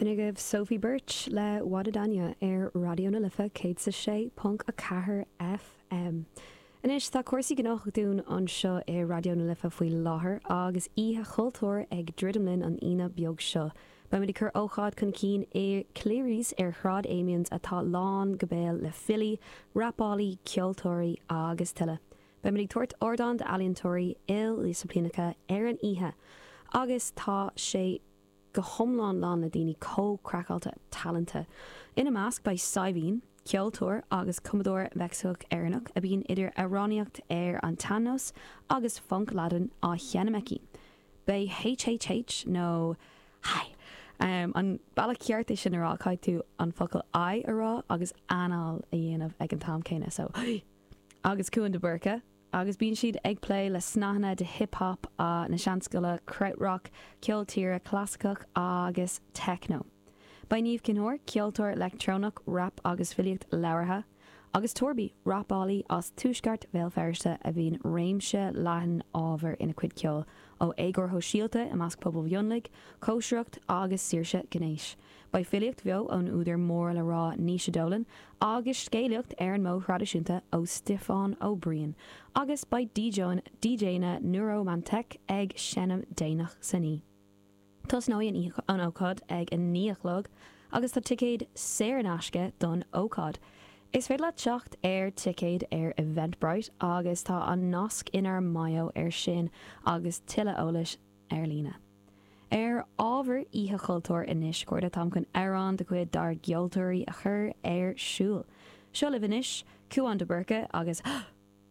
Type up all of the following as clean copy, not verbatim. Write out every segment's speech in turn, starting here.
B'in agaibh Sophie Birch le Wadadanha ar Raidió na Life 106.4 FM. Anois, tá cúrsaí gnóthach dúinn anseo i Raidió na Life faoi láthair agus Oíche Chultúir ag druidim linn an Aoine beag seo. Beimid ag cur ócáid chun cinn i Cleary's ar Shráid Amiens atá lán go béal le filí, rapálaí, ceoltóirí agus tuilleadh. Beimid ag tabhairt ardán d'ealaíontóirí ildisciplíneacha ar an oíche agus tá sé go hiomlán lán le daoine chomh craiceáilte talanta. Ina measc beidh Saidhbhín, ceoltóir agus cumadóir Meicsiceach-Éireannach a bíonn idir amhránaíocht ar an tsean-nós agus func Ladin á sheinm aici. Beidh HHH nó Hi! An bealach ceart é sin a rá, caithfidh tú an focal I a rá agus anáil a dhéanamh ag an t-am céanna, so Hi! Agus Cuan de Búrca. agus bíonn siad ag plé le snáthanna de hip hop na seanscoile, krautrock, ceol tíre clasaiceach agus techno. Beidh Niamh Chinn Óir, ceoltóir leictreonach, rap agus filíocht labhartha, agus Torby, rapálaí as tuaisceart Bhéal Feirste a bhíonn réimse leathan ábhar ina cuid ceoil, ó éagóir shóisialta i measc pobal mhionlaigh, cóisireacht agus saoirse gnéis. Beidh filíocht bheo ón údar mór le rá Naoise Dolan agus scéalaíocht ar an modh thraidisiúnta ó Stiofán Ó Briain agus beidh DJanna Neuromantec ag seinm déanach san oíche. Tosnóidh an ócáid ag 9 a chlog agus tá ticéid saor in aisce don ócáid. Is féidir leat teacht ar ticéid ar Eventbrite agus tá an nasc inár mbio ar sin agus tuilleadh eolais ar líne. Ar ábhar Oíche Chultúir anois, a chairde, táim chun amhrán de chuid dár gceoltóirí a chur ar siúl. Seo libh anois, Cúán de Búrca agus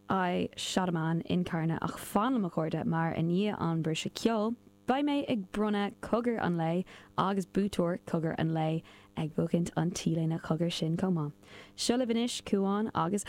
I Shot a Man in Carna ach fan liom a chairde mar i ndiaidh an briseadh ceoil, beidh mé ag bronnadh cogar an lae agus buaiteoir cogar an lae ag buachaint an t-léine cogar sin chomh maith. Seo libh anois, Cúán agus.